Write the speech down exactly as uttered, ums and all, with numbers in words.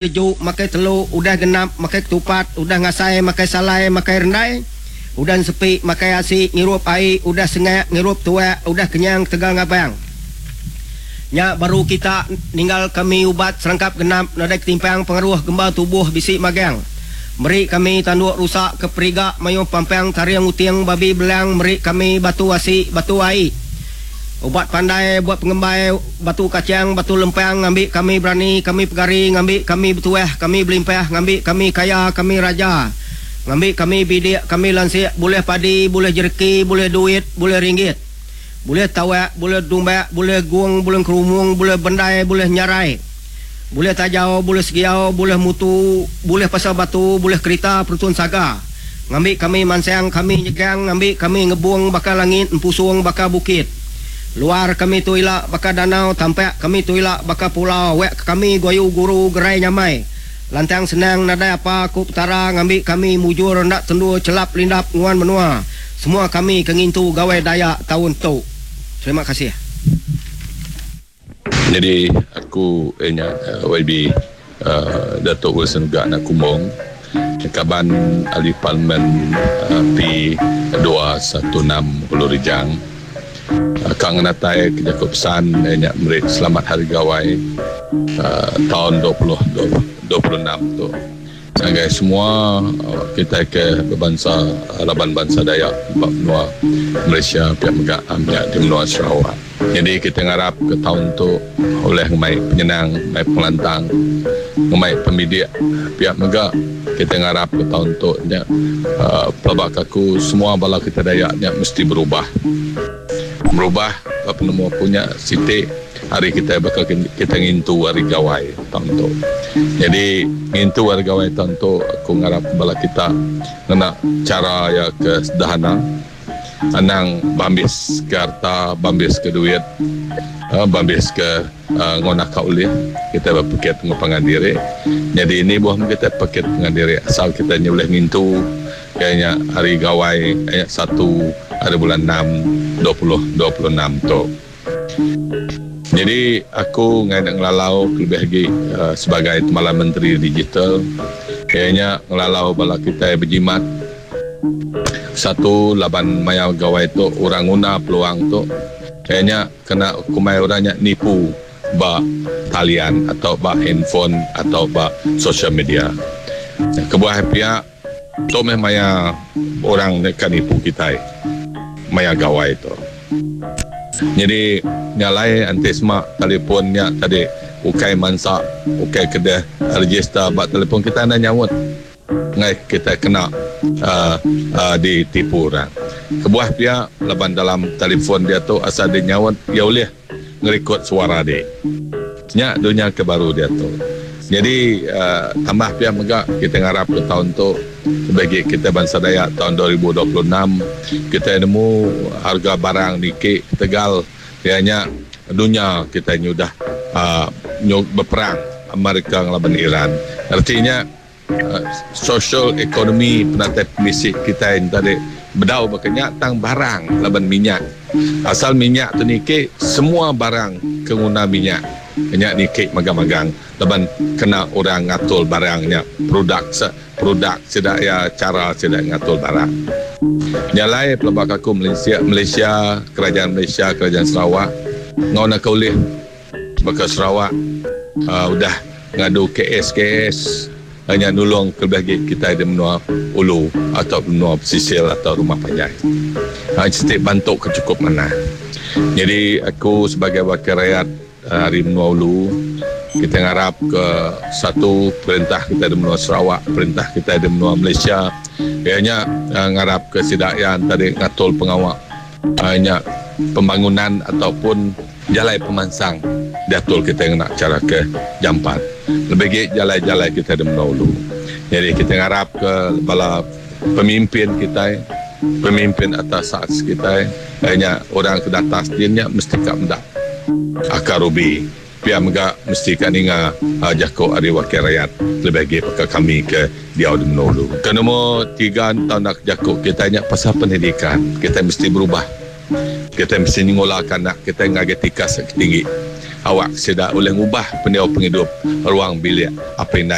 Lejuk makai telu, udah genap makai ketupat, udah ngasai makai salai makai rendai, udah ensepi makai asi ngirup ai, udah sengak ngirup tuak, udah kenyang ketegal ngabang. Nya baru kita ninggal kami ubat serangkap genap nadai ketimpang pengaruh gemba tubuh bisi magang. Meri kami tanduk rusa ke periga mayuh pampang taring uting babi belang, meri kami batu asi batu ai. Ubat pandai buat pengembai batu kachang batu lempang, ngambi kami berani kami pegari, ngambi kami betuah kami belimpah, ngambi kami kaya kami raja, ngambi kami bidik kami lansik, bulih padi bulih jereki bulih duit bulih ringgit, bulih tawak bulih dumbak bulih gung bulih kerumung bulih bendai bulih nyarai, bulih tajau bulih segiau bulih mutu bulih pasal batu bulih kerita perutun saga, ngambi kami mansang kami nyegang, ngambi kami ngebung baka langit empusung baka bukit. Luar kami tu ila baka danau, tampak kami tu ila baka pulau, wek kami goyu guru gerai nyamai. Lantang senang nadai apa ku Petara, ngambi kami mujur enda tendu celap lindap nguan menua. Semua kami ke ngintu Gawai Dayak taun tu. Terima kasih. Jadi aku nya Y B uh, Datuk Wilson Ugak anak Kumbong, kaban ahli parlimen uh, P dua satu enam Ulu Rejang. Kang natai ke jaku pesan nya meri selamat hari gawai uh, tahun dua puluh dua puluh enam tu. Ngagai semua uh, kita ke berbangsa uh, laban bangsa Dayak ba menua Malaysia pihak mega amnya di menua Sarawak. Jadi kita ngarap ke tahun tu oleh ngemai penyenang, ngemai pengelantang, ngemai pemidik pihak mega kita ngarap ke tahun tu nya uh, pelabak aku semua bala kita Dayak nya mesti berubah. Berubah apa penemu punya siti hari kita bakal kita ngintu hari gawai tahun tu. Jadi ngintu hari gawai tahun tu aku ngarap bala kita ngena cara ya ke sederhana, anang bambis ke harta, bambis ke duit, uh, bambis ke uh, ngonak ka ulih kita berpikir pengupangan diri. Jadi ini buah kita paket pengan diri asal kita ni boleh ngintu kayaknya hari gawai ayat satu hari bulan enam dua puluh dua puluh enam tu. Jadi aku ngai nak ngelalau lebih lagi uh, sebagai Timbalan Menteri Digital, kayaknya ngelalau bala kita berjimat. Satu laban maya gawai tu orang guna peluang tu kayaknya kena kumai orangnya nipu ba talian atau ba handphone atau ba social media. Kebuah pihak tu meh maya orang dekat nipu kita maya gawai tu. Jadi nyalai anti semak telefonnya tadi ukai mansak ukai kedai register bak telefon kita anda nyawut ngai kita kena uh, uh, ditipu orang. Kebuah pihak laban dalam telefon dia tu asal dia nyawut dia boleh ngerekod suara dia. Nya dunia ke baru dia tu. Jadi uh, tambah pihak mega kita ngarap ke tahun tu bagi kita bangsa Dayak tahun dua ribu dua puluh enam kita nemu harga barang dikit tegal ianya dunia kita ni udah uh, berperang Amerika ngelaban Iran. Artinya uh, social economy penatai pemisi kita yang tadi bedau berkenyak tang barang laban minyak. Asal minyak tu nikik semua barang kenguna minyak. Minyak nikik magang-magang laban kena orang ngatul barangnya produk se, produk sedak ya cara sedak ngatul barang. Nyalai pelabak aku Malaysia, Malaysia, kerajaan Malaysia, kerajaan Sarawak ngau nak ulih baka Sarawak uh, udah ngadu K S K S hanya nulung kelebih kita di menua ulu atau menua pesisir atau rumah panjai. Ha, setiap bantu ke cukup mana. Jadi aku sebagai wakil rakyat hari menua ulu kita ngarap ke satu perintah kita di menua Sarawak, perintah kita di menua Malaysia, ianya uh, ngarap ke sidak yang tadi ngatul pengawak hanya pembangunan ataupun jalai pemansang diatul kita yang nak cara ke jampat. Lebih baik jalai-jalai kita di menua ulu. Jadi kita ngarap ke bala pemimpin kita, pemimpin atas saat kita, hanya orang ke atas dia nya mesti kak mendak akar ubi. Pihak mega mesti kan inga uh, jako ari wakil rakyat lebih lagi pakai kami ke diau di menua ulu. Ke nombor tiga tahun nak jako kita nya pasal pendidikan, kita mesti berubah. Kita mesti ngolahkan anak kita ngagai tikas tinggi. Awak sida ulih ngubah pendiau pengidup ruang bilik apai indai.